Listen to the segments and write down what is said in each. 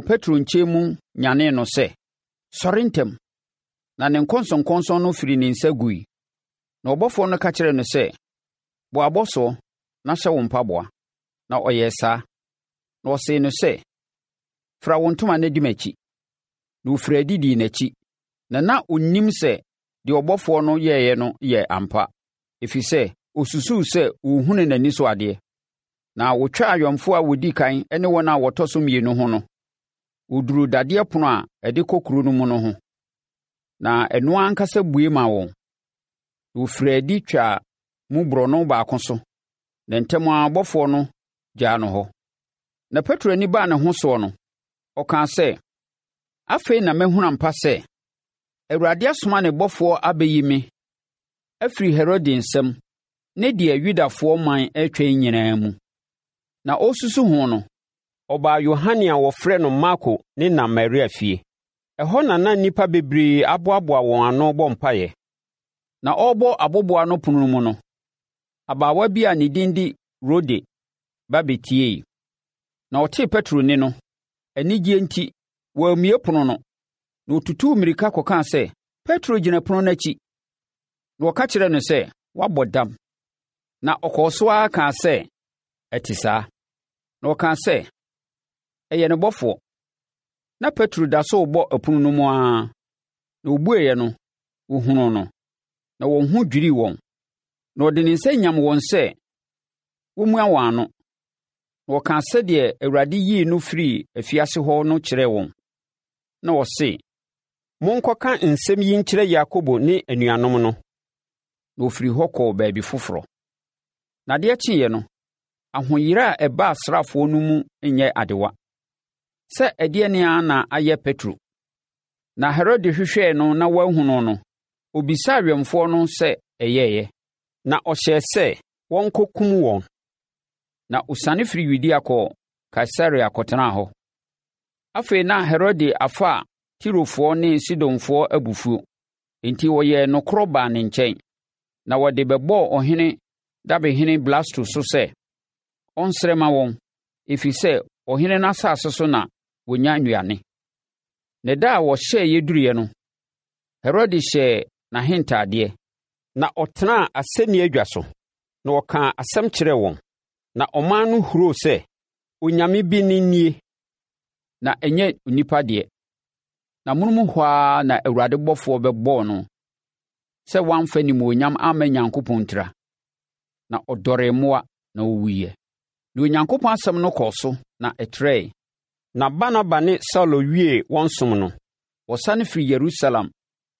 Petro nkyɛn mu nyanee no sɛ, “Sɔre ntɛm!” Na ne nkɔnsɔnkɔnsɔn no firii ne nsa guiɛ. Na ɔbɔfoɔ no ka kyerɛɛ no sɛ, “Bɔ w'abɔsoɔ na hyɛ wo mpaboa.” Na ɔyɛɛ saa. Na ɔsee no sɛ, “Fira wo ntoma na di m'akyi.” Na ɔfirii adi dii n'akyi, na na ɔnnim sɛ deɛ ɔbɔfoɔ no yɛeɛ no yɛ ampa, ɛfiri sɛ, ɔsusuu sɛ ɔrehunu n'ani so adeɛ. Na wɔtwaa awɛmfoɔ a wɔdi ɛkan ne wɔn a wɔtɔ so mmienu ho no, wɔduruu dadeɛ ɛpono a ɛde kɔ kuro no mu no ho, na ɛno ankasa bue maa wɔn. Na wɔfirii adi twaa mu borɔno baako so, na ntɛm ara ɔbɔfoɔ no gyaa no hɔ. Na Petro ani baa ne ho soɔ no, ɔkaa sɛ, “Afei na mahunu ampa sɛ, Awurade asoma ne ɔbɔfoɔ abɛyi me afiri Herode nsam ne deɛ Yudafoɔ ɔman retwɛn nyinaa mu.” Na ɔresusu ho no, ɔbaa Yohane a wɔfrɛ no Marko ne na Maria fie. Ɛhɔ na na nnipa bebree aboaboa wɔn ano rebɔ mpaeɛ. Na ɔrebɔ aboboano ɛpono no mu no, abaawa bi a ne din de Rode ba bɛtiee. Na ɔtee Petro nne no, anigyeɛ enti, wammue ɛpono no, na ɔtutuu mmirika kɔkaa sɛ, “Petro gyina ɛpono no akyi!” Na wɔka kyerɛɛ no sɛ, “Woabɔ dam.” Na ɔkɔɔ so ara kaa sɛ ɛte saa. Na wɔkaa sɛ, “Ɛyɛ ne bɔfoɔ.” Na Petro da so rebɔ ɛpono no mu ara, na wɔbueeɛ no, wɔhunuu no, na wɔn ho dwirii wɔn. Na ɔde ne nsa nyamm wɔn sɛ wɔmmua wɔn ano, na ɔkaa sɛdeɛ Awurade yii no firii afiase hɔ no kyerɛɛ wɔn. Na ɔse, “Monkɔka nsɛm yi nkyerɛ Yakobo ne anuanom no.” Na ɔfirii hɔ kɔɔ baabi foforɔ. Na adeɛ kyeeɛ no, ahoyera a ɛbaa asraafoɔ no mu nyɛ adewa, sɛ ɛdeɛn ara na ayɛ Petro. Na Herode hwehwɛɛ no na wanhu no no, ɔbisaa awɛmfoɔ no sɛ ɛyɛeɛ, na ɔhyɛɛ sɛ wɔnkɔkum wɔn. Na ɔsiane firii Yudea kɔɔ Kaesarea kɔtenaa hɔ. Afei na Herode afa Tirofoɔ ne Sidonfoɔ abufuo, enti wɔyɛɛ nokorɔ baa ne nkyɛn, na wɔde bɛbɔɔ ɔhene dabehene Blasto so sɛ, ɔnsrɛ mma wɔn, ɛfiri sɛ ɔhene no asase so na wɔnya nnuane. Na da a wɔhyɛeɛ duruiɛ no, Herode hyɛɛ n'ahentadeɛ, na ɔtenaa asɛnnie adwa so, na ɔkaa asɛm kyerɛɛ wɔn. Na ɔman no huroo sɛ, Onyame bi nne nie, na ɛnyɛ onipa deɛ. Na amonom hɔ ara na Awurade bɔfoɔ bɛbɔɔ no sɛ wamfa animuonyam amma Nyankopɔn ntira. Na ɔdɔree mmoa, na ɔwuiɛ. Na Onyankopɔn asɛm no kɔɔ so, na ɛtrɛe. Na Barnaba ne Saulo wiee wɔn som no, wɔsane firii Yerusalem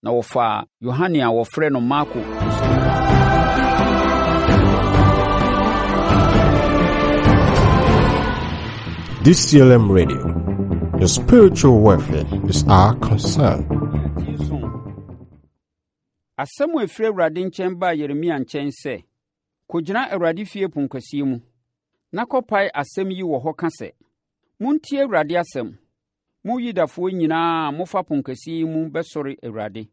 na wɔfaa Yohane a wɔfrɛ no Marko nso. DCLM Radio, your spiritual welfare is our concern. Asɛm a ɛfiri Awurade nkyɛn baa Yeremia nkyɛn sɛ, Kɔgyina Awurade fie ponkɛseɛ mu, na kɔpae asɛm yi wɔ hɔ ka sɛ, 'Montie Awurade asɛm, mo Yudafoɔ nyinaa a mofa ponkɛseɛ yi mu bɛsɔre Awurade.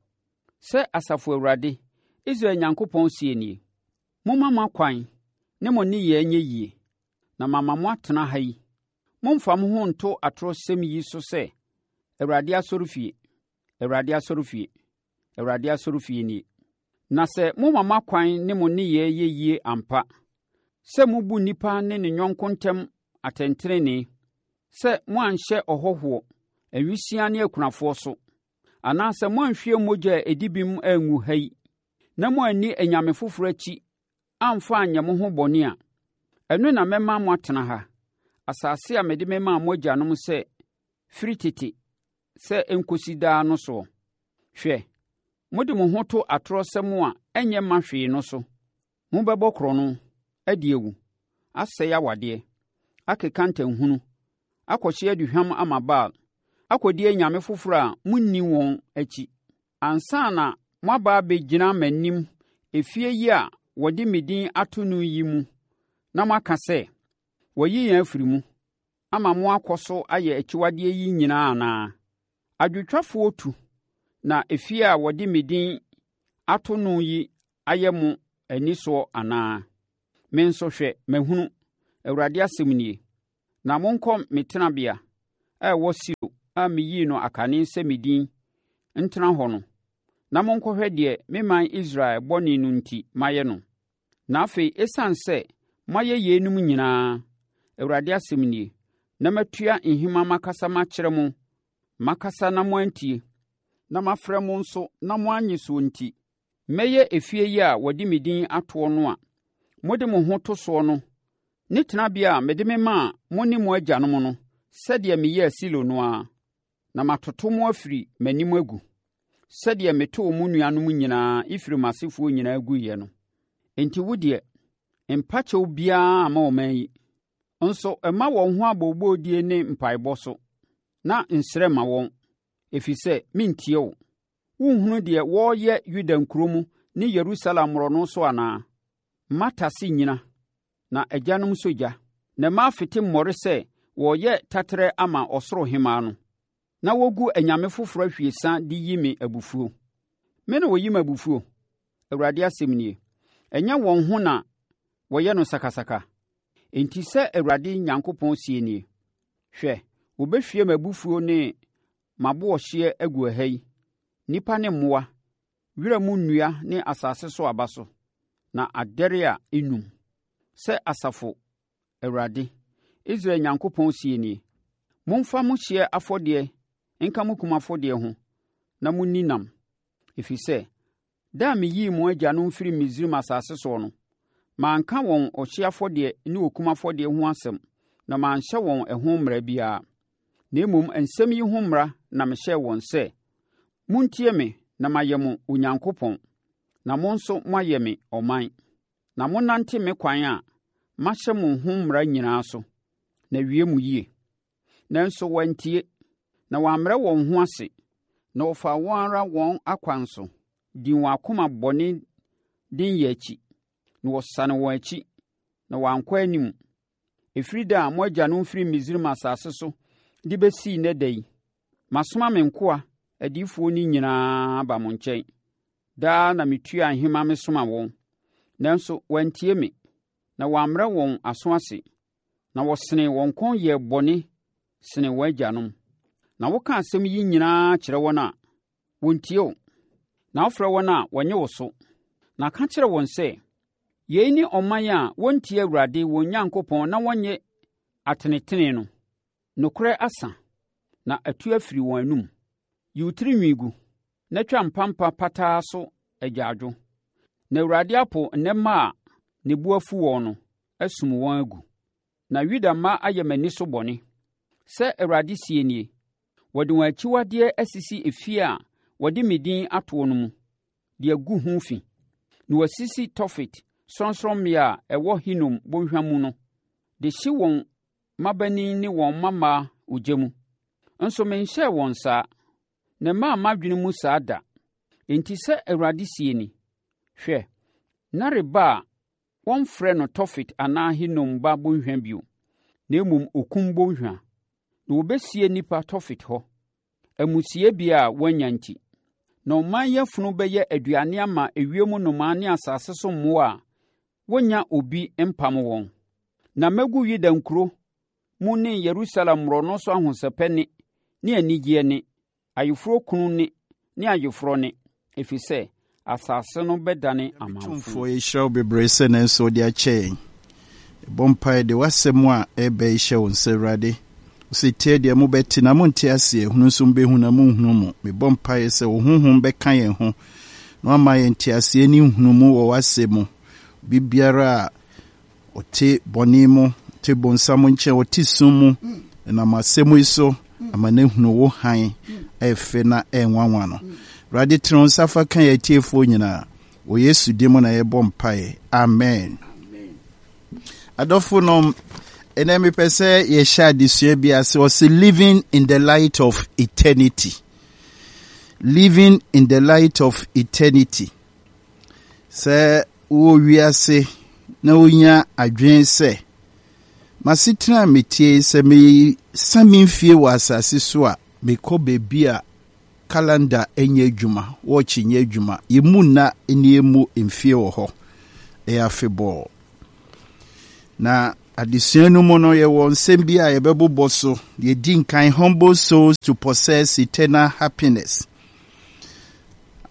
Sɛ Asafo Awurade, Israel Onyankopɔn seɛ nie: Momma mo akwan ne mo nneyɛɛ nyɛ yie, na mama moatena ha yi. Mommfa mo ho nto atorosɛm yi so sɛ, 'Awurade asɔrefie, Awurade asɔrefie, Awurade asɔrefie nie.' Na sɛ moma mo akwan ne mo nneyɛɛ yɛ yie ampa, sɛ mobu nnipa ne ne yɔnko ntam atɛntenenee, sɛ moanhyɛ ɔhɔhoɔ, awisiaa ne akunafoɔ so, anaasɛ moanhwie mogya a ɛdi bem angu ha yi, na moanni anyame foforɔ akyi amfa anyɛ mo ho bɔne a, ɛno na mɛma moatena ha, asase a mede memaa mo agyanom sɛ firi tete sɛ ɛnkɔsi daa no soɔ. Hwɛ, mode mo ho to atorɔsɛm a ɛnyɛ mma hwee no so. Mobɛbɔ korɔno, adi awu, asɛe awadeɛ, akeka ntanhunu, akɔhye aduhwam ama Baal, akɔdi anyame foforɔ a monni wɔn akyi, ansa na moaba abɛgyina m'anim efie yi a wɔde me din ato no yi mu na moaka sɛ, ‘Wɔayi yɛn afiri mu,’ ama moakɔ so ayɛ akyiwadeɛ yi nyinaa anaa? Adwotwafoɔ tu na efie a wɔde me din ato no yi ayɛ mo ani soɔ anaa? Me nso, hwɛ, mahunu, Awurade asɛm nie. Na monkɔ me tenabea a ɛwɔ Silo. a meyii no akane sɛ me din ntena hɔ no, na monkɔhwɛ deɛ me man Israel bɔne no enti mayɛ no. Na afei, ɛsiane sɛ moayɛ yeinom nyinaa, Awurade asɛm nie, na matua nhema makasa makyerɛ mo, makasa na moantie, na mafrɛ mo nso na moannye soɔ nti, mɛyɛ efie yi a wɔde me din atoɔ no a mode mo ho to soɔ no ne tenabea a mede memaa mo ne mo agyanom no sɛdeɛ meyɛɛ Silo no ara, na matoto mo afiri m'anim agu, sɛdeɛ metoo mo nuanom nyinaa, Efraim asefoɔ nyinaa guiɛ no. Enti wo deɛ, mpa kyɛw biara mma ɔman yi. Nso mma wɔn ho abooboodie ne mpaebɔ so, na nsrɛ mma wɔn, ɛfiri sɛ merentie wo. Wonhunu deɛ wɔreyɛ Yuda nkuro mu ne Yerusalem mmorɔno so anaa? Mma tase nnyina, na agyanom sɔ gya, na mmaa fete mmɔre sɛ wɔreyɛ taterɛ ama ɔsoro hemmaa no, na wɔgu anyame foforɔ ahwiesa de yi me abufuo. Me na wɔyi me abufuo? Awurade asɛm nie. Ɛnyɛ wɔn ho na wɔyɛ no sakasaka? Enti sɛ Awurade Nyankopɔn seɛ nie, Hwɛ, wɔbɛhwie m'abufuo ne m'aboɔhyeɛ agu ɛha yi, nnipa ne mmoa, wira mu nnua ne asase so aba so, na adɛre a ɛnnum. Sɛ Asafo Awurade, Israel Nyankopɔn seɛ nie, Momfa mo hyeɛ afɔdeɛ nka mo kum afɔdeɛ ho na monni nam, ɛfiri sɛ, da a meyii mo agyanom firii Misraim asase soɔ no, manka wɔn ɔhyeɛ afɔdeɛ ne okum afɔdeɛ ho asɛm na manhyɛ wɔn ɛho mmara biara. Na mmom nsɛm yi ho mmara na mehyɛɛ wɔn sɛ, Montie me na mayɛ mo Onyankopɔn, na mo nso moayɛ me ɔman. Na monnante me kwan a mahyɛ mo ho mmara nyinaa so, na awie mo yie. Nanso wɔantie, na wɔammrɛ wɔn ho ase, na wɔfaa wɔn ara wɔn akwan so, dii wɔn akoma bɔne denyɛ akyi, na wɔsane wɔn akyi, na wɔankɔ anim. Ɛfiri da a mo agyanom firii Misraim asase so de bɛsii nnɛ da yi, masoma me nkoa adiyifoɔ no nyinaa aba mo nkyɛn. Daa na metua nhema mesoma wɔn, nanso wɔantie me, na wɔammrɛ wɔn aso ase, na wɔsenee wɔn kɔn yɛɛ bɔne sene wɔn agyanom. Na woka asɛm yi nyinaa kyerɛ wɔn a, wɔntie wo, na wofrɛ wɔn a, wɔnnye wo so. Na ka kyerɛ wɔn sɛ, 'Yei ne ɔman a wɔntie Awurade wɔn Nyankopɔn na wɔnnye atenetene no. Nokorɛ asa, na atu afiri wɔn anom. Yi wo tirinwi gu, na twa mpampa pataa so agyaadwo. Na Awurade apo nnɛ mma a ne bo afu wɔn no, asum wɔn agu. Na Yuda mma ayɛ m'ani so bɔne. Sɛ Awurade seɛ nie, wɔde wɔn akyiwadeɛ asisi efie a wɔde me din atoɔ no mu, de agu ho fi, na wɔasisi Tofet sorɔnsorɔmmea a ɛwɔ Hinom bɔnhwa mu no, de hye wɔn mmabanin ne wɔn mmammaa ogya mu. Nso menhyɛɛ wɔn saa, na ɛmmaa m'adwene mu saa da. Enti sɛ Awurade seɛ ni, Hwɛ, nna reba a Wɔremfrɛ no Tofet anaa Hinom ba bɔnhwa bio, na mmom Okum Bɔnhwa. Na wɔbɛsie nnipa Tofet hɔ, amusiebea a wɔannya nti. Na ɔman yi afunu bɛyɛ aduane ama ewiem nnomaa ne asase so mmoa a wɔnnya obi mpam wɔn. Na mɛgu Yuda nkuro mu ne Yerusalem mmorɔno so ahosɛpɛ nne ne anigyeɛ nne, Ayeforɔkunu nne ne ayeforɔ nne, ɛfiri sɛ asase no bɛdane amamfõ. Tumfoɔ, yɛhyira wo bebree sɛ nanso wode akyɛ yɛn. Yɛbɔ mpaeɛ de w'asɛm a ɛreba yi hyɛ wo nsa, Awurade. Wose tie deɛ mobɛte na monte aseɛ, hunu nso mobɛhu na monhunu mu. Mebɔ mpaeɛ sɛ wo honhom bɛka yɛn ho na wama yɛn nteaseɛ ne nhunumu wɔ w'asɛm mu. Biribiara a Ɔte bɔne mu, ɔte bonsam nkyɛn, ɔte sum mu. Ɛnam asɛm yi so ama no ahunu wo hann a ɛfɛ na ɛnwanwa no. Awurade, tene wo nsa fa ka yɛn atiefoɔ nyinaa. Wɔ Yesu din mu na yɛbɔ mpaeɛ. Amen. Adɔfo nom, ɛnɛ mepɛ sɛ yɛhyɛ adesua bi ase. Ɔse living in the light of eternity. Living in the light of eternity. Sɛ wowɔ wiase na wunya adwene sɛ, 'M'asetena a metie yi, sɛ mesa me mfie wɔ asase so a, mekɔ baabi a kalanda nyɛ adwuma, wɔɔkye nyɛ adwuma, yemmu nna ne yemmu mfie wɔ hɔ, ɛyɛ afebɔɔ. Na. Adesua no mu no, yɛwɔ nsɛm bi a yɛbɛbobɔ so. Deɛ ɛdi nkan, humble souls to possess eternal happiness.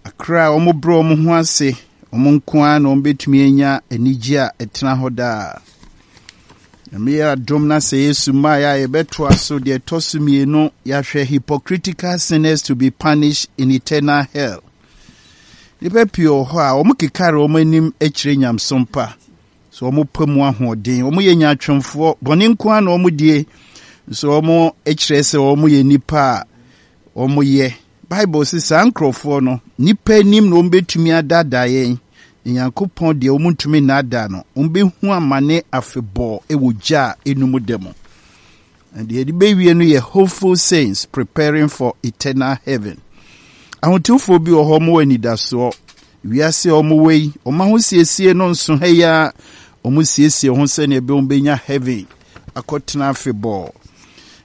Akra a wɔbrɛ wɔn ho ase, wɔn nko ara na wɔbɛtumi anya anigye a ɛtena hɔ daa. Nyame yɛ adom na sɛ Yesu mmaeɛ a yɛbɛtoa so deɛ ɛtɔ so mmienu, yɛahwɛ hypocritical sinners to be punished in eternal hell. Nnipa pii wɔ hɔ a wɔkekare wɔn anim kyerɛ nyamesom pa. So wɔpɛ mu ahoɔden. Wɔyɛ nyaatwomfoɔ. Bɔne nko ara na wɔdie. Nso wɔkyerɛ sɛ wɔyɛ nnipa a wɔyɛ. Bible se saa nkurɔfoɔ no, nnipa anim na wɔbɛtumi adaadaa yɛn, na Nyankopɔn deɛ wɔntumi nnaadaa no. Wɔbɛhu amane afebɔɔ wɔ gya a ɛnum da mu. Na deɛ yɛde bɛwie no yɛ hopeful saints preparing for eternal heaven. Ahotefoɔ bi wɔ hɔ wɔwɔ anidasoɔ. Wiase a wɔwɔ yi, wɔn ahosiesie no nso ha yi ara, wɔsiesie ho sɛnea ɛbɛyɛ wɔbɛnya heaven akɔtena afebɔɔ.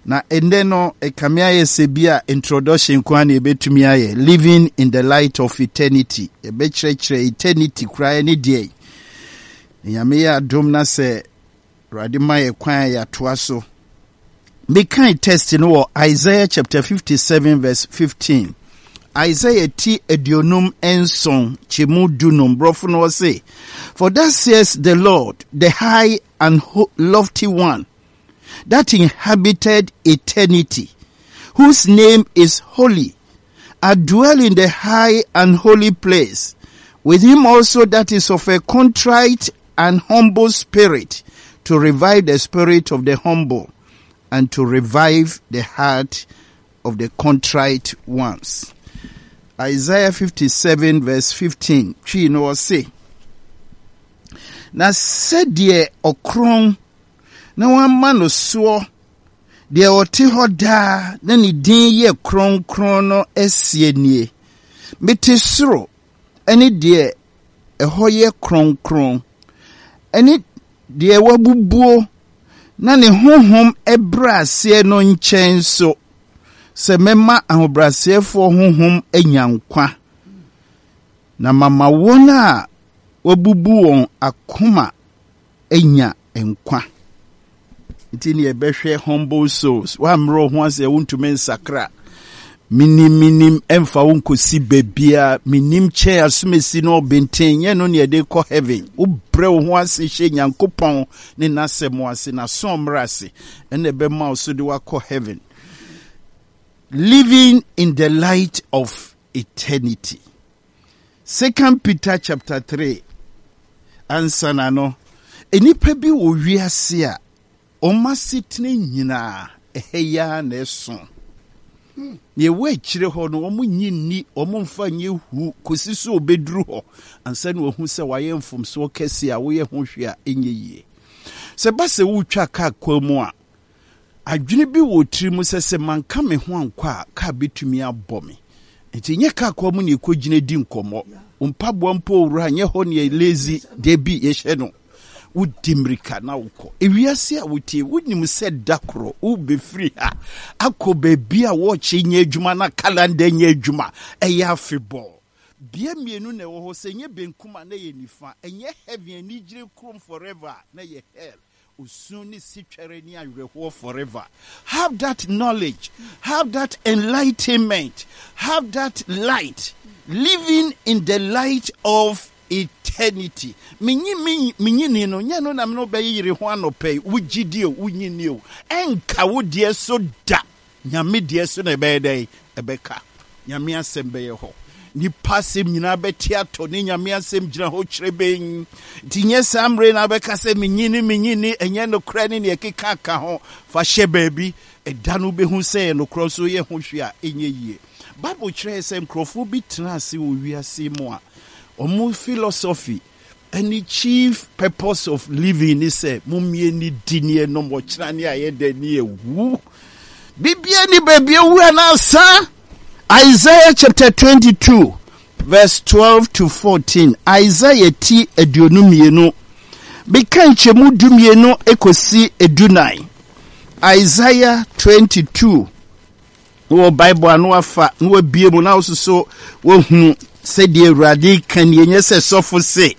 Na ɛnnɛ no, ɛkame ayɛ sɛ bi a introduction nko ara na yɛbɛtumi ayɛ, living in the light of eternity. Yɛbɛkyerɛkyerɛ eternity koraa ne deɛ. Nyame yɛ adom na sɛ Awurade ma yɛ kwan a yɛatoa so. Mekan text no wɔ Isaiah chapter 57 verse 15. Isaiah ti 57 kyɛmu dunum borɔfo no ɔse, For thus says the Lord, the high and lofty one, that inhabited eternity, whose name is holy. I dwell in the high and holy place, with him also that is of a contrite and humble spirit, to revive the spirit of the humble and to revive the heart of the contrite ones. Isaiah 57 verse 15 Twi no ɔse, Na sɛdeɛ ɔkorɔn na wɔama no soɔ, deɛ ɔte hɔ daa na ne din yɛ kronkron no seɛ nie, Mete soro ne deɛ ɛhɔ yɛ kronkron, ne deɛ wabubuo na ne honhom brɛ aseɛ no nkyɛn nso, sɛ mɛma ahobrɛaseɛfoɔ honhom anya nkwa, na mama wɔn a wɔabubu wɔn akoma anya nkwa. Nti ne yɛbɛhwɛ humble souls. Woammerɛ wo ho ase a wontumi nsakra. Menim menim ɛmfa wo nkɔsi baabiara. Menim kyɛn asomasi no ɔbenten nyɛ no ne yɛde kɔ heaven. Wobrɛ wo ho ase hyɛ Nyankopɔn ne n'asɛm ase, n'aso mmerɛ ase, ɛna ɛbɛma wo so de wakɔ heaven. Living in the light of eternity. Second Peter chapter 3 ansa na no, nnipa bi wɔ wiase a wɔn asetena nyinaa ɛha yi ara na ɛso. Nea ɛwɔ akyire hɔ no, wɔn nyi nni, wɔn mfa nyɛ hu kɔsi so wɔbɛduru hɔ ansa na wɔahu sɛ wɔayɛ mfomsoɔ kɛse a woyɛ ho hwee a ɛnyɛ yie. Sɛ ba sɛ woretwa kaa kwan mu a, Adwene bi wɔ tirim sɛ sɛ manka me ho ankɔ a, kaa betumi abɔ me. Enti nyɛ kaa kwan mu na yɛkɔgyina di nkɔmmɔ. Wo mpaboa mpo owura, nyɛ hɔ na yɛlezi. Dabi, yɛhyɛ no. Wodi mmirika na wokɔ. Ewiase a wotie, wonim sɛ da koro wobɛfiri ha akɔ baabi a wɔɔkye nyɛ adwuma na kalanda nyɛ adwuma. Ɛyɛ afebɔɔ. Bea mmienu na ɛwɔ hɔ, sɛ ɛnyɛ benkum a na ɛyɛ nifa. Ɛnyɛ heaven, anigyere kurom forever a, na ɛyɛ hell. Osu ne sitwɛre ne awerɛhoɔ forever. Have that knowledge, have that enlightenment, have that light, living in the light of eternity. Menyi me menyini no, nyɛ no na me no bɛyere ho anɔpɛ yi. Wogye di o, wonyi ni o. Ɛnka wo deɛ so da. Nyame deɛ so na ɛbɛyɛ dɛn? Ɛbɛka. Nyame asɛm bɛyɛ hɔ. Nipa asɛm nyinaa bɛte atɔ ne Nyame asɛm gyina hɔ kyerɛbɛn. Nti nyɛ saa mmerɛ na wobɛka sɛ menyi ne menyi ne ɛnyɛ nokorɛ ne neɛ ɛkeka ka ho. Fa hyɛ baabi. Ɛda no wobɛhu sɛ ɛyɛ nokorɛ nso woyɛ ho hwee a ɛnyɛ yie. Bible kyerɛ sɛ nkurɔfoɔ bi tena ase wɔ wiase mu a wɔn philosophy ne chief purpose of living ne sɛ mommie ne di ne ɛnom ɔkyena ne ayɛ dɛ ne ɛwu bibia ni baabi awu anaasa Isaiah chapter 22 verse 12 to 14 Isaiah ti 22 beka nkyɛmu 12 ekosi 14 Isaiah 22 Wowɔ Bible a na wafa na wabie mu na wososo wahunu sɛdeɛ Awurade ka nie, nyɛ sɛ sɔfo se.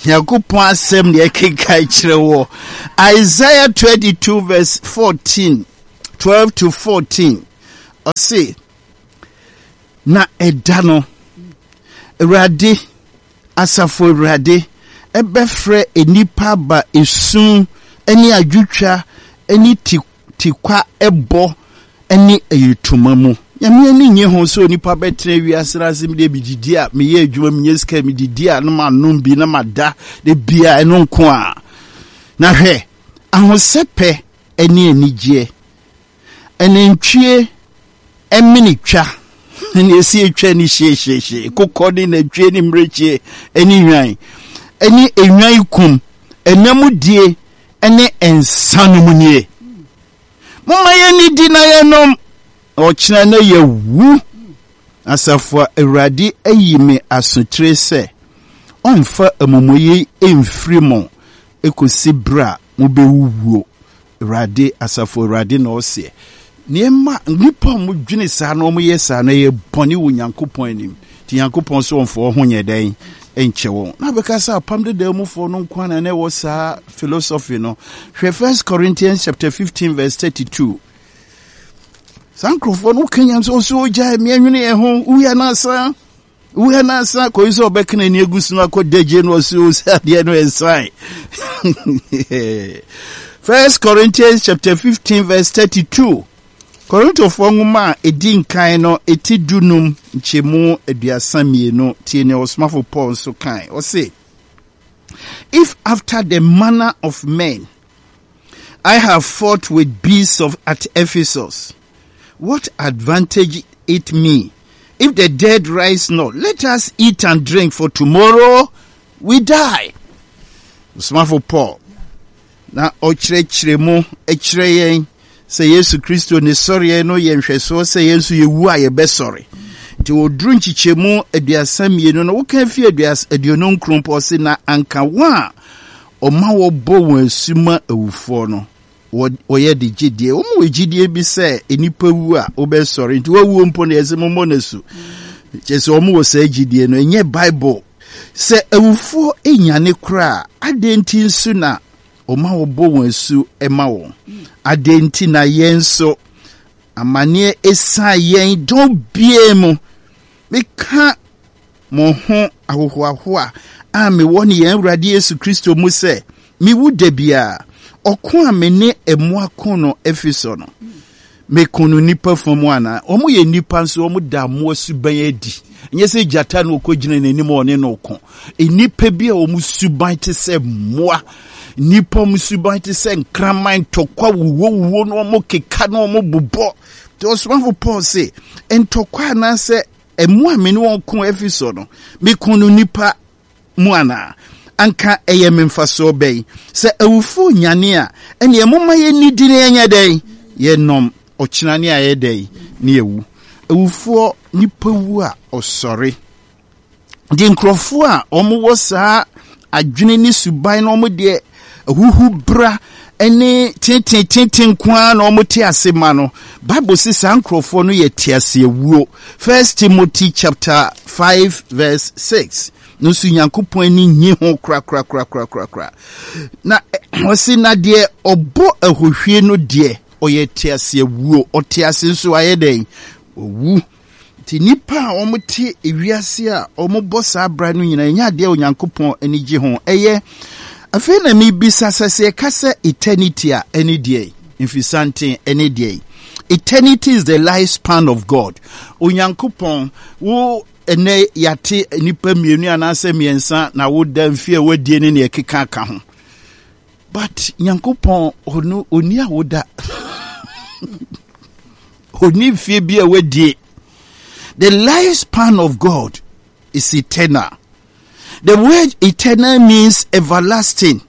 Nyankopɔn asɛm na yɛkenkan kyerɛ wɔ Isaiah 22 verse 14, 12 to 14. Ɔse, na ɛda no, Awurade, asafo Awurade, ɛbɛfrɛ nnipa aba esu ne adwotwa ne tikwa bɔ ne ayitoma mu. Nyame ani nnye ho sɛ onipa bɛtena wiase no ase medeɛ medidi a meyɛ adwuma menya sika medidi a na manom bi na mada da bia ɛno nko a. Na hwɛ, ahosɛpɛ ne anigyeɛ, anantwie mene twa ne ɛsi atwa ne hyehyehye, kokɔ ne nantwie ne mmirekyie ne nnwan, ne nnwan kum, ɛnam die ne nsa nom nie. Momma yɛnnidi na yɛnnom, na ɔkyena na yɛawu. Asafo a Awurade ayi me asotire sɛ ɔmfa amumuyɛ yi mfiri mo kɔsi berɛ a mobɛwuwuo. Awurade, Asafo Awurade na ɔseɛ. Nneɛma, nnipa a wɔdwene saa na wɔyɛ saa no, ɛyɛ bɔne wɔ Nyankopɔn anim. Nti Nyankopɔn sɛ ɔmfa wɔn ho nyɛ dɛn? Nkyɛ wɔn. Na bɛka sɛ apam dedaa mufoɔ no nko na na ɛwɔ saa philosophy no. Hwɛ First Corinthians chapter 15 verse 32. Saa nkurɔfoɔ no woka nyam sɛ ɔsɛ ogyae meɛnwene yɛn ho, woyɛ no asa. Woyɛ no asa kɔyi sɛ ɔbɛka n'ani agu so no akɔ dagye no ɔsɛ ɔsɛ adeɛ no ɛnsan. First Corinthians chapter 15 verse 32. Korintofoɔ nwoma a ɛdi nkan no ɛti dunum nkyɛmu 32 tie nea ɔsomafo Paul nso kae. Ɔse, If after the manner of men I have fought with beasts of at Ephesus, what advantage it me? If the dead rise not, let us eat and drink, for tomorrow we die. Ɔsomafo Paul na ɔkyerɛkyerɛ mu kyerɛ yɛn sɛ Yesu Kristo ne sɔreɛ no yɛ nhwɛsoɔ sɛ yɛn nso yɛwu a yɛbɛsɔre. Nti wɔduru nkyekyɛmu 32 no, woka fi 29 pɔ ɔse na anka wɔn a ɔma wɔbɔ wɔn asu ma awufoɔ no, wɔyɛ de gye die. Wɔn wɔ gyidie bi sɛ nnipa wu a wobɛsɔre, nti wawuo mpo no yɛsɛ mommɔ no asu. Kyerɛ sɛ wɔn wɔ saa gyidie no, ɛnyɛ Bible. Sɛ awufoɔ nyane koraa a, adɛn nti nso na ɔma wɔbɔ wɔn asu ma wɔn? Adɛn nti na yɛn nso amanneɛ esiane yɛn dɔn biara mu? Meka mo ho ahohoahoa a mewɔ ne yɛn Awurade Yesu Kristo mu sɛ mewu da biara. Ɔko a me ne mmoa ko no Efeso no, meko no nnipa fa mu anaa? Wɔn yɛ nnipa nso wɔn da mmoa suban adi. Nyɛ sɛ gyata na ɔkɔgyina n'anim a ɔne no ko. Nnipa bi a wɔn suban te sɛ mmoa, nnipa wɔn suban te sɛ nkraman, ntɔkwa wuwowuwo na wɔn keka na wɔn bobɔ. Nti ɔsomafo Paul se, ntɔkwa anaasɛ mmoa a me ne wɔn ko Efeso no, meko no nnipa mu anaa? Anka ɛyɛ me mfasoɔ bɛn? Sɛ awufoɔ nyane a, ɛnneɛ momma yɛnnidi na yɛnyɛ dɛn? Yɛnnom. Ɔkyena ne ayɛ dɛn? Ne yɛwu. Awufoɔ, nipa wu a, ɔsɔre. Nti nkurɔfoɔ a wɔwɔ saa adwene ne suban no, wɔn deɛ ahuhubra ne teteetete nko ara na wɔte ase ma no. Bible se saa nkurɔfoɔ no yɛ teaseawuo. First Timothy chapter 5 verse 6 no nso Nyankopɔn ani nyi ho korakorakorakorakora. Na ɔse na deɛ ɔbɔ ahohwie no deɛ ɔyɛ teaseawuo, ɔte ase nso ayɛ dɛn? Owu. Nti nnipa a wɔte wiase a wɔbɔ saa bra no nyinaa ɛnyɛ adeɛ a Onyankopɔn ani gye ho. Ɛyɛ afei na mebisa sɛ sɛ yɛka sɛ eternity a ɛne deɛ mfisanten ɛne deɛ. Eternity is the life span of God. Onyankopɔn wo ɛnɛ yɛate nnipa mmienu anaasɛ mmiɛnsa na woda mfie a wadie ne nea ɛkeka ka ho. But Nyankopɔn ɔno ɔni awoda. Ɔni mfie bi a wadie. The lifespan of God is eternal. The word eternal means everlasting.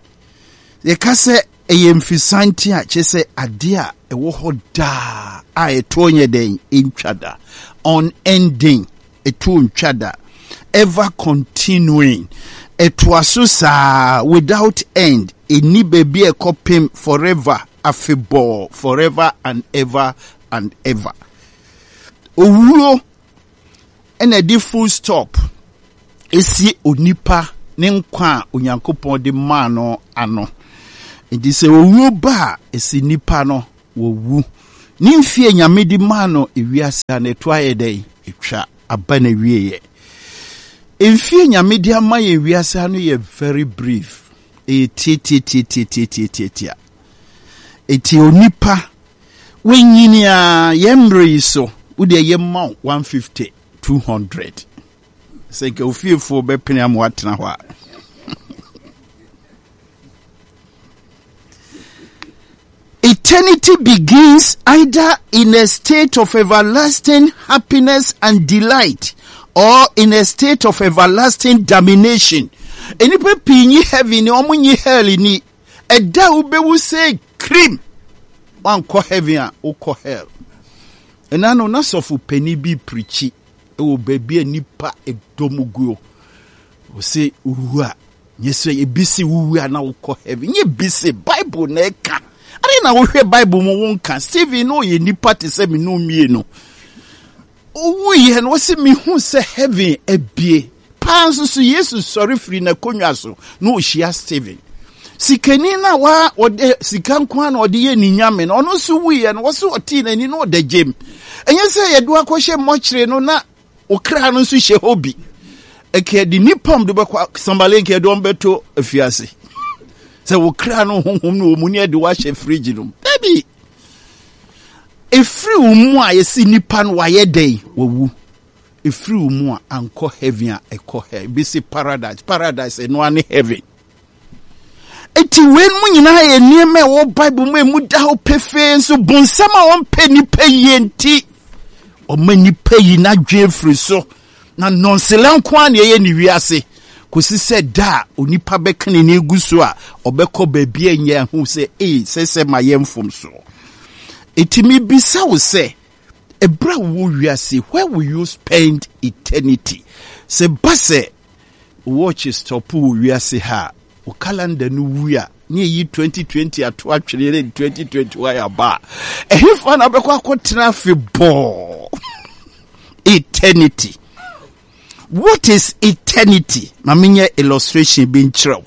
Yɛka sɛ ɛyɛ mfisante a kyerɛ sɛ adeɛ a ɛwɔ hɔ daa a ɛtoɔ nyɛ dɛn ɛntwa da. Unending. Ɛtoɔ ntwa da. Ever continuing. Ɛtoa so saa without end. Ɛnni baabi a ɛkɔpem forever, afebɔɔ, forever and ever and ever. Owuo ɛna ɛde full stop ɛsi onipa ne nkwa a Onyankopɔn de maa no ano. Nti sɛ owuo ba a, ɛsi nipa no wɔwu. Ne mfie a Nyame de maa no ewiase a na ɛto ayɛ dɛn? Etwa aba na wieɛ. Mfie Nyame de ama yɛn wiase ano yɛ very brief. Ɛyɛ tiatiatiatiatiatiatia. Eti onipa wanyini a yɛn mmerɛ yi so wodeɛ yɛma wo 150 200 sɛ nka ofiefoɔ bɛpene ama watena hɔ a. Eternity begins either in a state of everlasting happiness and delight or in a state of everlasting damnation. Nnipa pii nyi heaven ni, wɔn nyi hell ni. Ɛda a wobɛwu sɛ krim, wankɔ heaven a wokɔ hell. Ɛna no na sɔfo panin bi pirikyi wɔ baabi a nnipa dɔm guo. Ɔse wowu a, nyɛ sɛ ebi se wowu a na wokɔ heaven. Nyɛ bi se Bible na ɛka. Ade na wohwɛ Bible mu wonka. Stephen no ɔyɛ nipa te sɛ me no mmienu. Owuiɛ no ɔse mehu sɛ heaven abie. Paa nso so Yesu sɔre firi n'akonnwa so na ɔhyia Stephen. Sikani no a wa ɔde sika nko ara na ɔde yɛ ne nyame no, ɔno nso wuiɛ no, wɔse ɔtee n'ani na ɔda gyam. Ɛnyɛ sɛ yɛde akɔhyɛ mmɔkyere no na okra no nso hyɛ hɔ bi. Ɛka de nipa de bɛkɔ sambale nka ɛde wɔn bɛto afiase. Sɛ okra no honhom no wɔ mu ne ɛde wahyɛ fridge no mu. Dabi. Efiri wo mu a yɛsi nipa no wayɛ dɛn wawu. Efiri wo mu a ankɔ heaven a ɛkɔ hell. Ebi si paradise. Paradise ɛno ne heaven. Eti wei mu nyinaa yɛ nneɛma a ɛwɔ Bible mu emu da hɔ pefee nso bonsam a ɔmpɛ nipa yie nti ɔma nipa yi n'adwene firi so na nɔnsela nko ara na ɛyɛ ne wiase kɔsi sɛ da a onipa bɛka n'ani gu so a ɔbɛkɔ baabi a nyɛ ho sɛ ee sɛ sɛ ma yɛ mfomso. Eti mebisa wo sɛ ɛberɛ a wowɔ wiase where will you spend eternity? Sɛ ba sɛ Watch stop wɔ wiase ha a, wo calendar no wu a, ne ɛyi 2020 ato atwene ne 2021 aba a, ɛhefa na wobɛkɔ akɔtena afebɔɔ? Eternity. What is eternity? Ma menyɛ illustration bi nkyerɛ wo.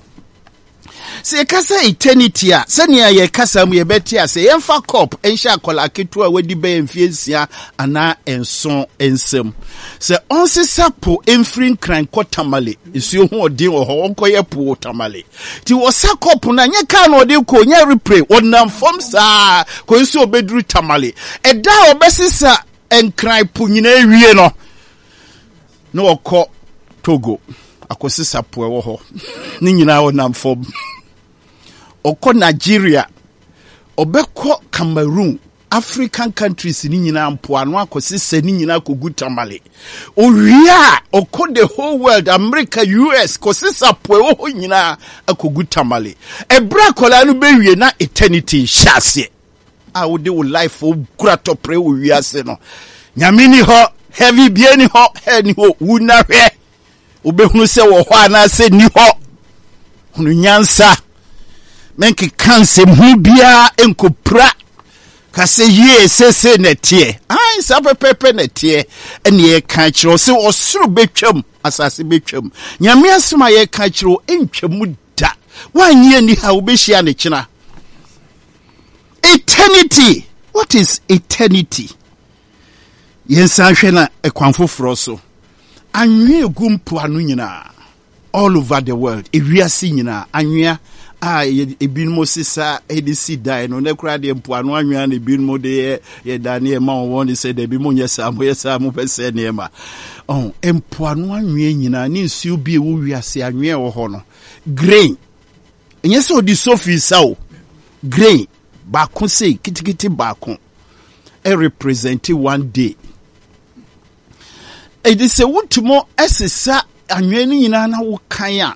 Sɛ yɛka sɛ eternity a, sɛnea yɛkasa mu yɛbɛte ase, yɛmfa kɔp nhyɛ akwadaa ketewa a wadi bɛyɛ mfeɛ nsia anaa nson nsam. Sɛ ɔnsesa po mfiri Nkran kɔ Tamale, nsuo ho ɔden wɔ hɔ, ɔnkɔyɛ po wɔ Tamale. Nti wɔsa kɔp no a, nyɛ kaa na ɔde kɔ, nyɛ repre, ɔnam fam saa kɔsi sɛ ɔbɛduru Tamale. Ɛda a ɔbɛsesa Nkran po nyinaa wie no, na ɔkɔ Togo akɔsesa po ɛwɔ hɔ ne nyinaa ɔnam fam. Ɔkɔ Nigeria, ɔbɛkɔ Cameroon, African countries ne nyinaa mpoano akɔsesa ne nyinaa akɔgu Tamale. Owie a ɔkɔ the whole world, America, US kɔsesa po ɛwɔ hɔ nyinaa akɔgu Tamale. Ɛberɛ akwadaa no bɛwie na eternity nhyɛ aseɛ. a wode wo life kura tɔprɛ wɔ wiase no nyame ni hɔ heavy bie ni hɔ hell ni hɔ wu na hwɛ wobɛhunu sɛ wɔ hɔ anaasɛ ni hɔ hunu nyansa menkeka nsɛm ho biara nkɔpira ka sɛ yie sese na ɛteɛ ae saa pɛpɛpɛ na ɛteɛ ɛne yɛka kyerɛ sɛ ɔsoro bɛtwam asase bɛtwam nyame asɛm a yɛka kyerɛ ɛntwam da woanyɛ ni ha wobɛhyia ne kyena Eternity! What is eternity? Yɛnsan hwɛ na ɛkwan foforɔ so. Anwea egu mpoano nyinaa, all over the world, ewiase nyinaa, anwea a ebinom sesa de si dan no, na koraa deɛ mpoano anwea na ebinom de yɛ yɛ dan ne ɛma wɔn de sɛ dɛbi mo nyɛ saa, mo yɛ saa mo bɛsɛ nneɛma. Ɔn mpoano anwea nyinaa ne nsuo bi ɛwɔ wiase anwea ɛwɔ hɔ no, grain Ɛnyɛ sɛ ɔde sofi sa o. Grain baako sei kitikiti baako represent one day. Ɛde sɛ wotumi sesa anwea no nyinaa na wokan a,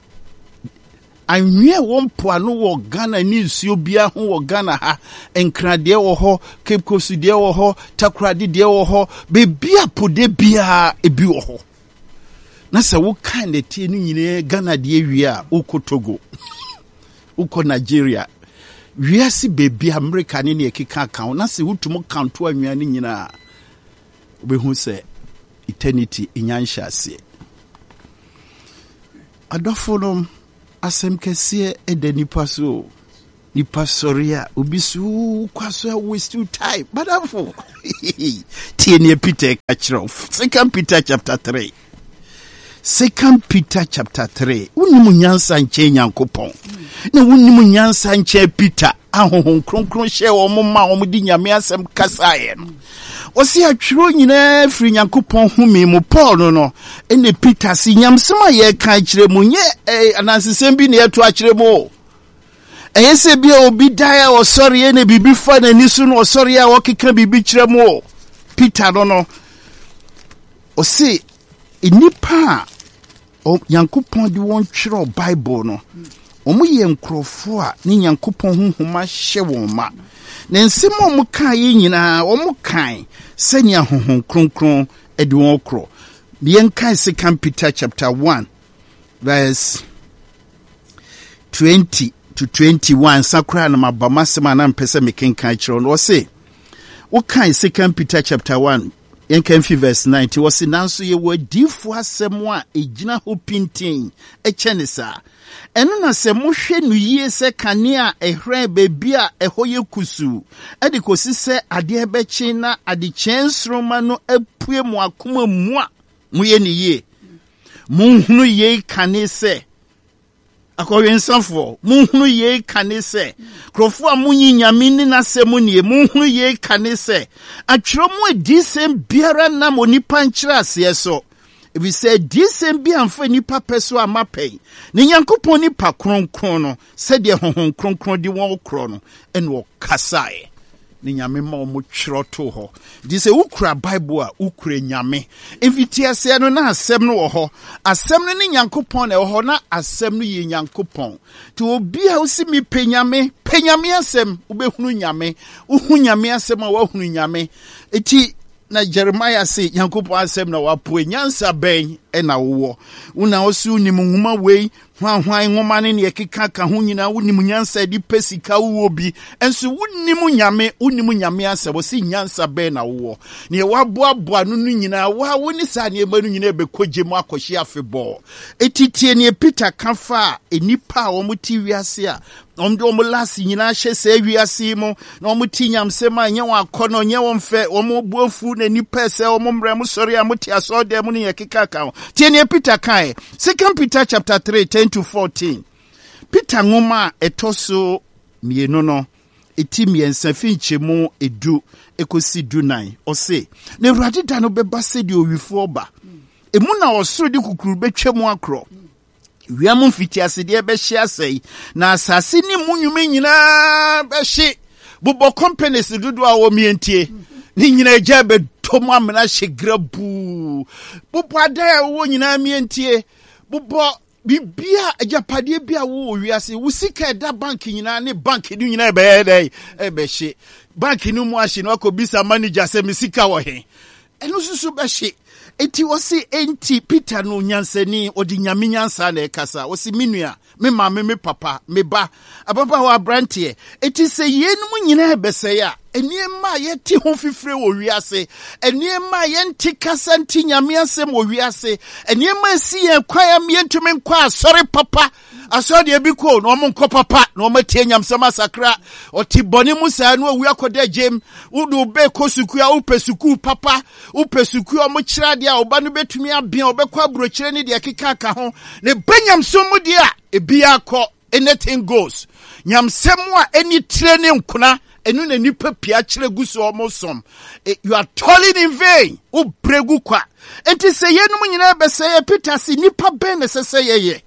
anwea ɛwɔ mpoano wɔ Ghana ne nsuo biara ho wɔ Ghana ha, Nkradeɛ wɔ hɔ, Cape Coast deɛ wɔ hɔ, Takoradi deɛ wɔ hɔ, baabi a po deɛ biara ebi wɔ hɔ. Na sɛ wokan nɛteɛ no nyinaa Ghana deɛ wie a, wokɔ Togo, wokɔ Nigeria, wiase baabi Amerika ne neɛ ɛkeka ka ho, na sɛ wotumi kanto anwea no nyinaa, wobɛhu sɛ eternity nya nhyɛ aseɛ. Adɔfo nom, asɛm kɛseɛ da nipa so o. Nipa sɔre a, obi so wokɔ so a waste your time. Madamfo, tie nea Peter ka kyerɛ wo. Second Peter chapter 3. Second Peter chapter 3. Wonim nyansa nkyɛn Nyankopɔn. Na wonim nyansa nkyɛn Peter. Ahohom kronkron hyɛ wɔn ma wɔn de Nyame asɛm kasaeɛ no. Ɔse atwerɛ nyinaa firi Nyankopɔn home mu. Paul no no, ɛna Peter se nyamsɛm a yɛreka akyerɛ mu nyɛ eh, anansesɛm bi na yɛto akyerɛ mu o. Ɛyɛ sɛ bi a obi dae a ɔsɔreɛ na biribi fa n'ani so na ɔsɔreɛ a ɔkeka biribi kyerɛ mu o. Peter no no, ɔse nnipa a Nyankopɔn de wɔn twerɛɛ Bible no, wɔyɛ nkurɔfoɔ a ne Nyankopɔn honhom ahyɛ wɔn ma. Na nsɛm a wɔkaeɛ nyinaa, wɔkae sɛnea Honhom Kronkron de wɔn korɔ. Yɛnkae Second Peter chapter 1 verse 20 to 21 nsa koraa na maba m'asɛm a na mpɛ sɛ mekenkan kyerɛ no. Ɔse, wokae Second Peter chapter 1 Yɛnka mfi verse 19, ɔse, Nanso yɛwɔ adiyifoɔ asɛm a ɛgyina hɔ pintinn kyɛne saa. Ɛno na sɛ mohwɛ no yie sɛ kanea a ɛhran baabi a ɛhɔ yɛ kusuu, de kɔsi sɛ adeɛ bɛkye na adekyee nsoromma no apue mo akoma mu a, moyɛ no yie. Monhunu yei kane sɛ, Akɔwensafoɔ, monhunu yei kane sɛ, nkurɔfoɔ a monyi Nyame nni n'asɛm nie, monhunu yei kane sɛ, atwerɛ mu adiyisɛm biara nam onipa nkyerɛaseɛ so, ɛfiri sɛ adiyisɛm bi amfa nnipa pɛ so amma pɛn, na Nyankopɔn nipa kronkron no, sɛdeɛ Honhom Kronkron de wɔn korɔ no, ɛna ɔkasaeɛ. Ne Nyame ma wɔn twerɛ too hɔ. Nti sɛ wokura Bible a, wokura Nyame. Mfitiaseɛ no, na Asɛm no wɔ hɔ. Asɛm no ne Nyankopɔn na ɛwɔ hɔ, na Asɛm no yɛ Nyankopɔn. Nti obi a wosi mepɛ Nyame, pɛ Nyame asɛm, wobɛhunu Nyame. Wohu Nyame asɛm a, woahunu Nyame. Nti na Jeremiah se, Nyankopɔn asɛm na wapoe, nyansa bɛn na wowɔ? Wo na wose wonim nwoma wei, Hwanhwan nwoma ne nea ɛkeka ka ho nyinaa, wonim nyansa de pɛ sika, wowɔ bi. Nso wonnim Nyame, wonnim Nyame asɛm. Ɔse nyansa bɛn na wowɔ? Nea waboaboa no no nyinaa, wo a wo ne saa nneɛma no nyinaa bɛkɔ gye mu akɔhye afebɔɔ. Eti tie nea Peter ka faa nnipa a wɔte wiase a wɔde wɔn last nyinaa hyɛ saa wiase yi mu na wɔn ti nyamsɛm a ɛnyɛ wɔn akɔnɔ ɛnyɛ wɔn fɛ wɔn bo afu na nnipa sɛ wɔn mmerɛ mo sɔre a mote asɔɔdan mu ne yɛ keka ka ho. Tie nea Peter kaeɛ. Second Peter chapter 3 10 to 14. Peter nwoma a ɛtɔ so mmienu no ɛti mmiɛnsa fi nkyɛmu edu ɛkɔsi dunan. Ɔse, na Awurade da no bɛba sɛdeɛ owifoɔ ba. Emu na ɔsoro de kukuru bɛtwa mu akorɔ. Wia mu mfitiasedeɛ bɛhye asɛe, na asase ne mu nnwuma nyinaa bɛhye. Bobɔ companies dodoɔ a wɔmmientie ne nyinaa gya bɛtɔ mu amena hye grabuu. Bobɔ adan a wɔwɔ nyinaa mmientie. Bobɔ bibia agyapadeɛ bi a wowɔ wiase, wo sika ɛda bank nyinaa ne bank no nyinaa ɛbɛyɛ dɛ ɛbɛhye. Bank no mu ahye no akɔbisa manager sɛ me sika wɔ he. Ɛno nso so bɛhye. Enti ɔse, enti Peter no nyansani, ɔde Nyame nyansa na ɛkasa. Ɔse, me nua, me maame, me papa, me ba, ababaawa, abranteɛ. Enti sɛ yeinom nyinaa ɛbɛsɛe a, nneɛma a yɛte ho fifire wɔ wiase, nneɛma a yɛnte kasa nte Nyame asɛm wɔ wiase, nneɛma a ɛsi yɛn kwan a yɛntumi nkɔ asɔre papa, asɔre deɛ bi kɔ na wɔn nkɔ papa na wɔn atie nyamsɛm asakra, ɔte bɔne mu saa na owu akɔda gyem. Wode wo bɛ kɔ sukuu a, wopɛ sukuu papa, wopɛ sukuu a wɔkyerɛ adeɛ a ɔba no bɛtumi abea, ɔbɛkɔ aburokyerɛ ne deɛ ɛkeka ka ho. Ne ba nyamsom mu deɛ a, ebiara kɔ, anything goes. Nyamsɛm a ɛni tire ne nkona, ɛno na nnipa pii akyerɛ gu so wɔn som. Eh, you are toiling in vain. Wobrɛ gu kwa. Enti sɛ yɛnom nyinaa bɛsɛ yɛ Peter se nnipa bɛn na ɛsɛ sɛ yɛyɛ?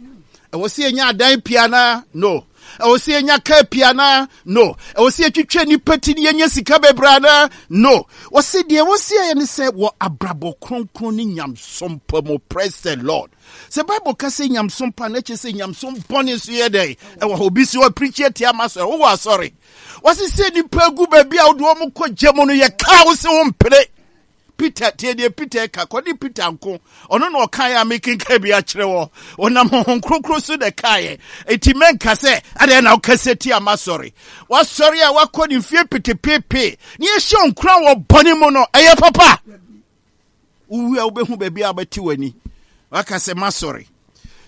Ɛwɔ sɛ yɛnya adan pii anaa? No. Ɛwɔ sɛ yɛnya kaa pii anaa? No. Ɛwɔ sɛ yɛtwitwa nnipa ti ne yɛnya sika bebree anaa? No. Wɔse deɛ ɛwɔ sɛ yɛyɛ ne sɛ wɔ abrabɔ kronkron ne nyamsom pa mu. Praise the Lord. Sɛ Bible ka sɛ nyamsom pa na ɛkyerɛ sɛ nyamsom bɔne nso yɛ dɛn? Ɛwɔ hɔ. Obi si hɔ pirikyi atia ma asɔre. Wowɔ asɔre. Wɔse sɛ nnipa gu baabi a wode wɔn kɔ gya mu no yɛ kaa wo se wo mpene. Peter, tie deɛ Peter ka, kɔde Peter nko. Ɔno na ɔkaeɛ a mekenkan bi akyerɛ wɔ. Ɔnam Honhom Kronkron so na ɛkaeɛ. Enti mɛnka sɛ, adɛn na wokasa tia m'asɔre? W'asɔre a wakɔ ne mfie petepepe ne yɛhyɛ nkuran wɔ bɔne mu no, ɛyɛ papa? Wowu a wobɛhu baabi a wobɛte w'ani. Waka sɛ, m'asɔre.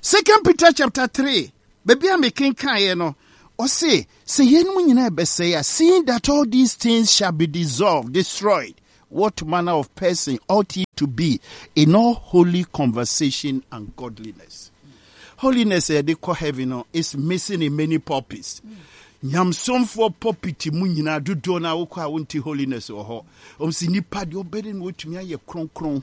Second Peter chapter 3, baabi a mekenkaeɛ no, ɔse, sɛ yeinom nyinaa ɛbɛsɛe a, seeing that all these things shall be dissolved, destroyed, what manner of person ought ye to be in all holy conversation and godliness? Holiness a yɛde kɔ heaven no is missing in many pulpits. Nyamsomfoɔ pulpit mu nyinaa dodoɔ no a wokɔ a wonte holiness wɔ hɔ. Wɔn si nipa deɛ ɔbɛde no wɔtumi ayɛ kronkron.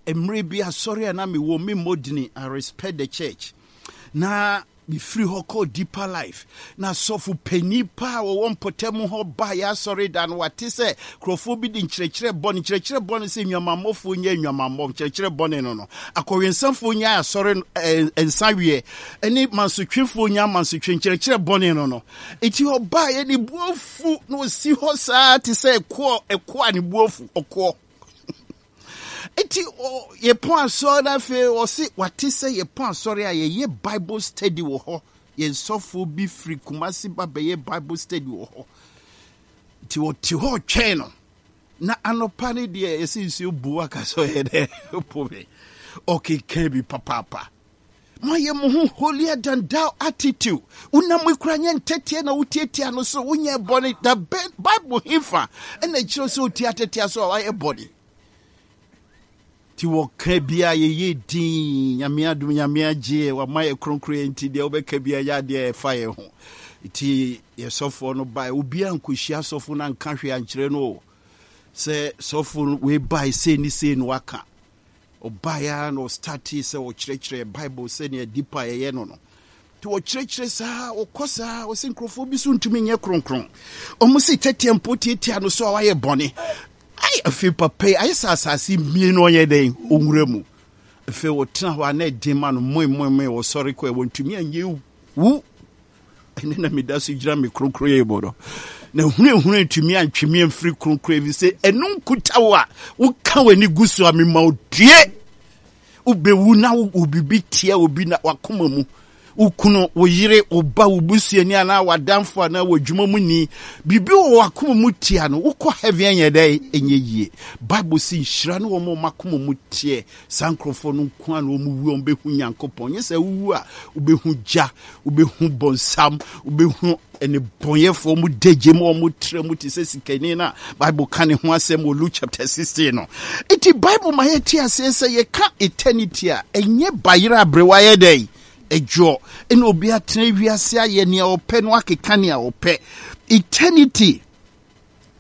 Mmerɛ bi asɔre a na mewɔ me mmɔ I respect the church. Na mefiri hɔ kɔɔ Deeper Life. Na sɔfo panin paa a wɔwɔ mpɔtam hɔ baa yɛ asɔre da no, wate sɛ nkurɔfoɔ bi de nkyerɛkyerɛ bɔne, nkyerɛkyerɛ bɔne sɛ nnwamammɔfoɔ nyɛ nnwamammɔ, nkyerɛkyerɛ bɔne no no, akɔwensafoɔ nya asɔre eh, nsa weɛ, ne mansotwefoɔ nya mansotwe, nkyerɛkyerɛ bɔne no no. Eti ɔbaa yɛ ne bu afu na ɔsi hɔ saa te sɛ ɛkoɔ, ɛkoɔ a ne bu afu, ɔkoɔ. Enti yɛpɔn asɔre no afei ɔse wate sɛ yɛpɔn asɔre a yɛyɛ Bible study wɔ hɔ. Yɛn sɔfoɔ bi firi Kumasi ba bɛyɛ Bible study wɔ hɔ. Nti ɔte hɔ ɔtwɛn no. Na anɔpa no deɛ yɛsɛ nsuo bu aka sɛ ɔyɛ dɛ po me. Ɔkeka bi papaapa. Moayɛ mo ho holier than thou attitude. Wonam mu kura nyɛ ntɛteɛ na wotiatia no so wonyɛ bɔne. Da bɛn Bible hefa ɛna ɛkyerɛ sɛ otia tɛtea so a wayɛ bɔne? Nti wɔka bia yɛyɛ din Nyame adom Nyame agyeɛ wama yɛ kronkron yɛ nti deɛ wobɛka bia yɛ adeɛ ɛfa yɛ ho. Nti yɛ sɔfoɔ no bae obiara nkɔhyia sɔfo no anka hwee ankyerɛ no o sɛ sɔfo wei bae sei ne sei no waka. Ɔbaeɛ ara na ɔstartee sɛ ɔkyerɛkyerɛ Bible sɛnea deep a yɛyɛ no no. Nti ɔkyerɛkyerɛ saa, ɔkɔ saa, ɔsɛ nkurɔfoɔ bi so ntumi nyɛ kronkron. Wɔn se tɛteɛ mpo tiatia no so a wayɛ bɔne. Ai, afei papa yi, ayɛ sɛ asase mmie no ɔnyɛ dɛn, ɔnwura mu. Afei ɔtena hɔ a na ɛden ma no, moe moe moe, ɔsɔre kɔ, wɔntumi anyɛ wu. Ɛne na meda so gyina me kronkronyɛ mu no. Na hunahuna ntumi antwe me amfiri kronkron ɛfiri sɛ ɛno nkuta wo a woka w'ani gu so a mema wo due. Wobɛwu na wo biribi tia obi na wakoma mu. Wo kunu, wo yere, wo ba, wo busuani anaa w'adamfo anaa w'adwuma mu ni. Biribi wɔ w'akoma mu tia no, wokɔ heaven ɛnyɛ dɛn? Ɛnyɛ yie. Bible si nhyira ne wɔn a wɔn akoma mu teɛ. Saa nkurɔfoɔ no nko ara na wɔn wu a wɔbɛhu Nyankopɔn. Nyɛ sɛ wowu a wobɛhu gya, wobɛhu bɔnsam, wobɛhu nnebɔnyɛfoɔ mu dagye mu wɔn tra mu te sɛ sikani no a Bible ka ne ho asɛm wɔ Luke chapter 16 no. Nti Bible ma yɛte aseɛ sɛ yɛka eternity a ɛnyɛ bayerɛ aberewa yɛ dɛn ɛdwoɔ ɛna obi atena wiase ayɛ nea ɔpɛ no akeka nea ɔpɛ. Eternity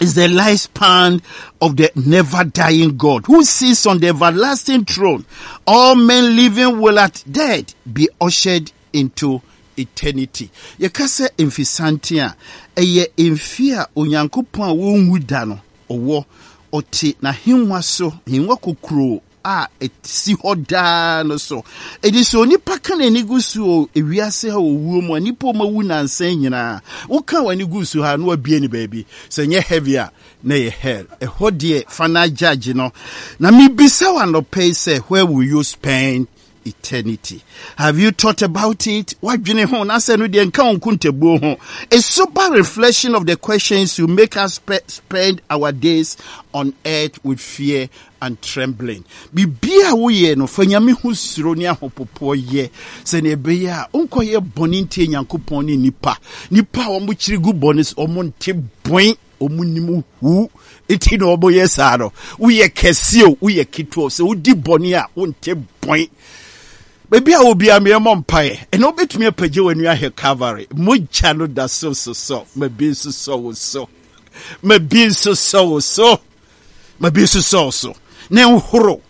is the lifespan of the never dying God who sits on the everlasting throne. All men living will at death be ushered into eternity. Yɛka sɛ mfesanten a, ɛyɛ mfe a Onyankopɔn a ɔnwu da no ɔwɔ. Ɔte n'ahengua so, ahengua kokuroo a ɛsi hɔ daa no so. Enti sɛ onipa ka n'ani gu so wɔ ewiase ha wɔ wuo mu a, nnipa a wɔawu nnansa yi nyinaa, woka w'ani gu so ha na wabue no baabi. Sɛ ɛnyɛ heaven a, na ɛyɛ hell. Ɛhɔ deɛ, final judge no. Na mebisa wo anɔpa yi sɛ, where will you spend eternity? Have you thought about it? Wadwene ho na sɛ no deɛ nka wo nkontabuo ho. A sober reflection of the questions will make us spend our days on earth with fear and trembling. Biribiara a woyɛ no, fa Nyame ho suro ne ahopopoɔ yɛ, sɛnea ɛbɛyɛ a wonkɔyɛ bɔne ntie Nyankopɔn ne nnipa. Nnipa a wɔkyiri gu bɔne so, wɔn nte bɔn, wɔn nim hu, nti na wɔyɛ saa no. Woyɛ kɛse o, woyɛ ketewa o, sɛ wodi bɔne a, wonte bɔn. Baabi a obiara meɛ mmɔ mpaeɛ. Ɛna wobɛtumi apagya w'ani ahwɛ Calvary. Mogya no da so sosɔ, ma bi nsosɔ wo so. Ma bi nsosɔ wo so. Ma bi nso sɔɔ so ne nhoro.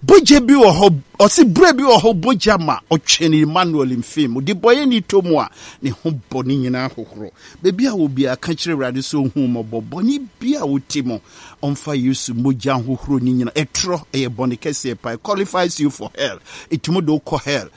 Bogya bi wɔ hɔ, ɔse berɛ bi wɔ hɔ bogya ma ɔtwene Emmanuel mfe mu. Debɔyɛni tɔ mu a, ne ho bɔ ne nyinaa hohoro. Baabi a wɔ biara, ka kyerɛ Awurade sɛ ɔnhu wo mmɔbɔ. Bɔne bi a wote mu, ɔmfa Yesu mogya nhohoro ne nyinaa. Ɛtorɔ, ɛyɛ bɔne kɛseɛ paa. It qualifies you for hell. Ɛtumi de wo kɔ hell.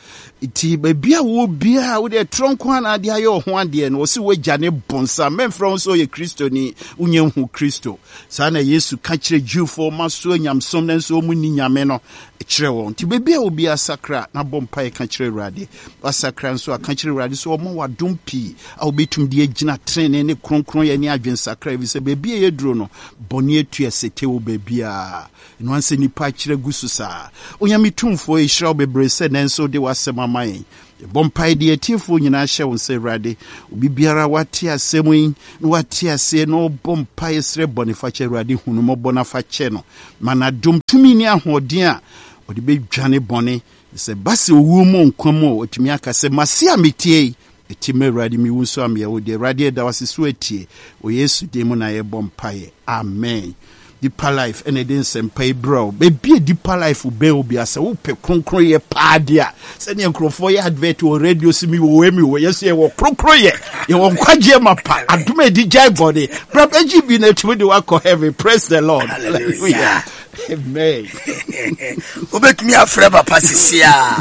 Nti baabi a wɔ biara, wode ɛtorɔ nko ara na ade ayɛ wo ho adeɛ no, ɔse w'agya ne bonsam. Mɛmfrɛ wo sɛ ɔyɛ Kristoni, wonya nhu Kristo. Saa na Yesu ka kyerɛ Jewfoɔ ɔma so anyamesom nanso wɔn nni Nyame no. kyerɛ wɔn. Nti baabi a obiara sakra na bɔ mpaeɛ ka kyerɛ Awurade. Wasakra nso a, ka kyerɛ Awurade sɛ ɔmma wo adom pii a wobɛtumi de agyina trenee ne kronkronyɛ ne adwensakra, ɛfiri sɛ baabi a yɛaduro no, bɔne atu asete wɔ baabiara. Ɛno ara sɛ nnipa akyerɛ gu so saa. Onyame Tumfoɔ, yɛhyira wo bebree sɛ nnɛ nso wode w'asɛm ama yɛn. Yɛbɔ mpae de atiefoɔ nyinaa hyɛ wo nsa, Awurade. Obi biara a wate asɛm yi na wate aseɛ na ɔbɔ mpaeɛ srɛ bɔnefakyɛ, Awurade, hu no mmɔbɔ na fa kyɛ no. Ma no adom, tumi ne ahoɔden a ɔde bɛdwane bɔne. Sɛ ɛba sɛ owuo mu nkwa mu a, watumi aka sɛ, Mase a metie yi, mete ma Awurade, mewu nso a meyɛ wo deɛ. Awurade, yɛda wo ase sɛ woatie. Wɔ Yesu din mu na yɛbɔ mpaeɛ. Amen. Deeper Life ɛna ɛde nsɛmpa yi brɛ wo. Baabi a Deeper Life bɛn wo bia sɛ wopɛ kronkronyɛ paa deɛ a, sɛdeɛ nkurɔfoɔ yɛ advert wɔ radio so mi wɔ wei mi wɔ yɛ so yɛwɔ kronkronyɛ, yɛwɔ nkwagyeɛ mapa, adom a ɛdi gyae bɔne. Bra bɛgye bi na atumi de wakɔ heaven. Praise the Lord. Hallelujah. Amen. Wobɛtumi afrɛ papa sisi a,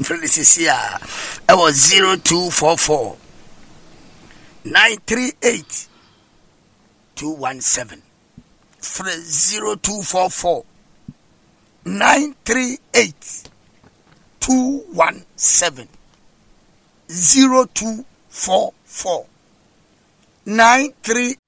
frɛ no sisi a, ɛwɔ 0244 938 217. Frɛ 0244 938 217. 0244 938.